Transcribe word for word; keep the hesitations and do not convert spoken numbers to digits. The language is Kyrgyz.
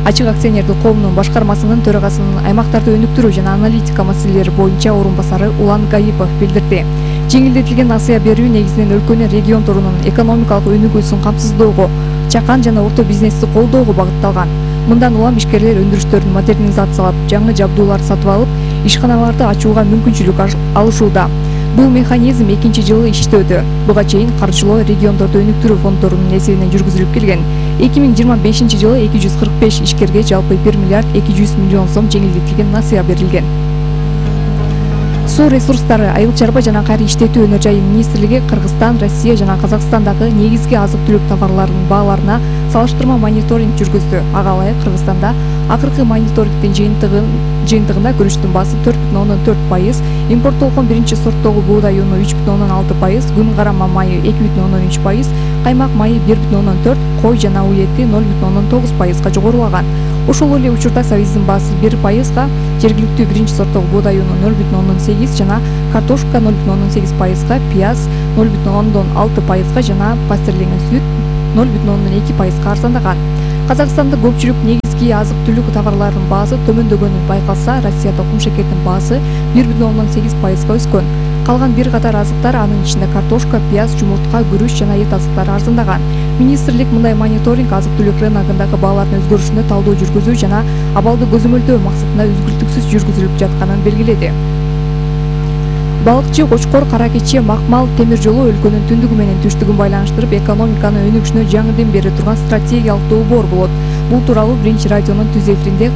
Ачык акционердик коомунун башкармасынын төрагасынын аймактарды өнүктүрүү жана аналитика маселелери боюнча орун басары Улан Гаипов билдирди. Жеңилдетилген насыя берүү негизинен өлкөнүн региондорунун экономикалык өнүгүүсүн камсыздоого, чакан жана орто бизнести колдоого багытталган. Мындан улам ишкерлер өндүрүштөрүн модернизациялап, жаңы жабдуулар сатып алып, ишканаларды ачууга мүмкүнчүлүк алышууда. Бул механизм экинчи жылы иштөөдө. Буга чейин каржылоо региондорду өнүктүрүү фонддорунун эсебинен жүргүзүлүп келген. эки миң жыйырма бешинчи жылы эки жүз кырк беш ишкерге жалпы бир миллиард эки жүз миллион сом жеңилдетилген насыя берилген. Суу ресурстары, айыл чарба жана кайра иштетүү өнөр жайы министрлиги Кыргызстан, Россия жана Казакстандагы негизги азык-түлүк товарларынын бааларына салыштырма мониторинг жүргүздү. Ага ылайык Кыргызстанда акыркы мониторингдин жыйынтыгын жыйынтыгында күрүчтүн баасы төрт бүтүн ондон төрт пайыз, импорттолгон биринчи сорттогу буудай уну үч бүтүн ондон алты пайыз, күн карама майы эки бүтүн ондон үч пайыз, каймак майы бир бүтүн ондон төрт, кой жана уу эти ноль бүтүн ондон тогуз пайызга жогорулаган. Ошол эле учурда сабиздин баасы бир пайызга, жергиликтүү биринчи сорттогу буудай уну ноль бүтүн ондон сегиз жана картошка ноль бүтүн ондон сегиз пайызга, пияз ноль бүтүн ондон алты пайызга жана пастерленген сүт ноль бүтүн ондон эки пайызга арзандаган. Казакстанда көпчүлүк негизги азык-түлүк товарларынын баасы төмөндөгөнү байкалса, Россияда кумшекердин баасы бир бүтүн ондон сегиз пайызга өскөн. Калган бир катар азыктар, анын ичинде картошка, пияз, жумуртка, күрүч жана эт азыктары арзандаган. Министрлик мындай мониторинг азык-түлүк рыногундагы баалардын өзгөрүшүнө талдоо жүргүзүү жана абалды көзөмөлдөө максатында үзгүлтүксүз жүргүзүлүп жатканын белгиледи. Балыкчы, Кочкор, Кара Кече, Макмал темир жолу өлкөнүн түндүгү менен түштүгүн байланыштырып, экономиканын өнүгүшүнө жаңы дем бере турган стратегиялык долбоор болот. Бул тууралуу Биринчи радионун түз эфиринде